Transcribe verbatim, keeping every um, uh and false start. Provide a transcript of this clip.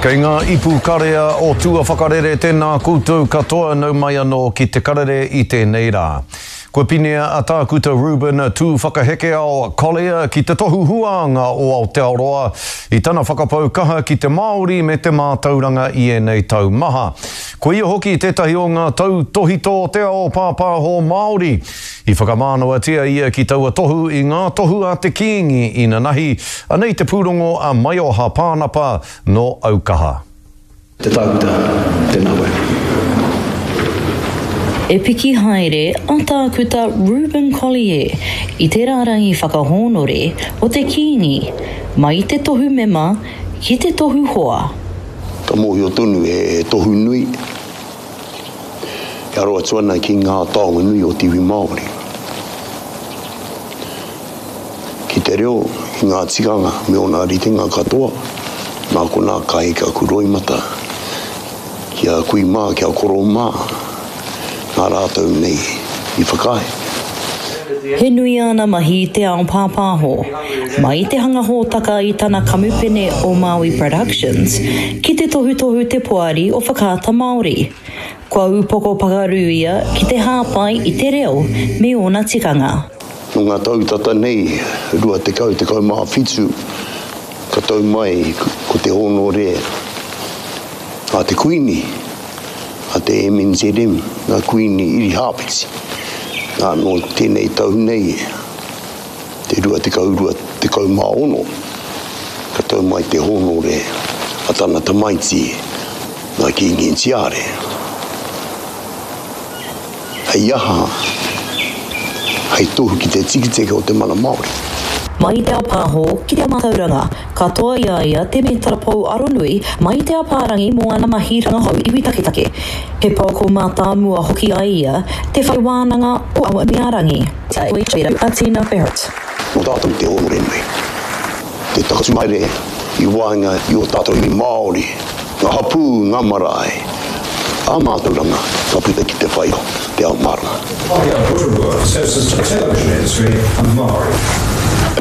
Kei ngā ipu karea o tua whakarere tēnā koutou katoa nau mai anō ki te karere i tēnei rā. Kua pinea a Tākuta Reuben Tūwhakahekeao Collier ki te tohu huānga o Aotearoa i tana whakapau kaha ki te Māori me te mātauranga i ēnei tau maha. Ko ia hoki tētahi o ngā tautohito o te ao pāpāho Māori. I whakamānawatia ia ki taua tohu i ngā tohu a te Kīngi inanahi, anei te pūrongo a Maioha Pānapa nō Aukaha. Te tākuta, tēnā koe. E piki haere a Tākuta Reuben Collier i te rārangi whakahōnore o te Kīngi, mai i te tohu mema ki te tohu hoa. Ka mōhio tonu he tohu nui, e aro atu ana ki ngā taonga nui o te iwi Māori. Ki te reo, ki ngā tikanga me ōna ritenga katoa, nā konā ka heke aku roimata, ki a kui mā, ki a koro mā, nā rātou nei i whakaae. He nui āna mahi i te ao pāpāho, mai i te hanga hōtaka i tana kamupene o Māui Productions, ki te tohutohu te poari o Whakaata Māori. Kua upoko pakaru ia ki te hāpai i te reo me ōna tikanga. Nō ngā tau tata nei, rua tekau, tekau mā whitu, ka tau mai ko te hōnore a te Kuini, a te M N Z M, ngā Kuini Irihāpeti. Nā, nō tēnei tau nei, te rua tekau rua tekau mā ono, ka tau mai te hōnore a tana tamaiti, ngā Kīngi Tiare. Hei aha, hei tohu ki te tiketike o te mana Māori. Mai i te ao pāho ki te ao mātauranga, katoa i a ia te mētara pou aronui mai i te apārangi mō ana mahi rangahau iwi taketake. He pouako mātāmua hoki ai ia te whare wānanga o Awanuiārangi. A Tina Barrett. Nō tātou te hōnore nui, te takatū haere i waenga i ō tātou iwi Māori, ngā hapū, ngā marae, ā mātauranga ka puta ki te whai o te ao mārama.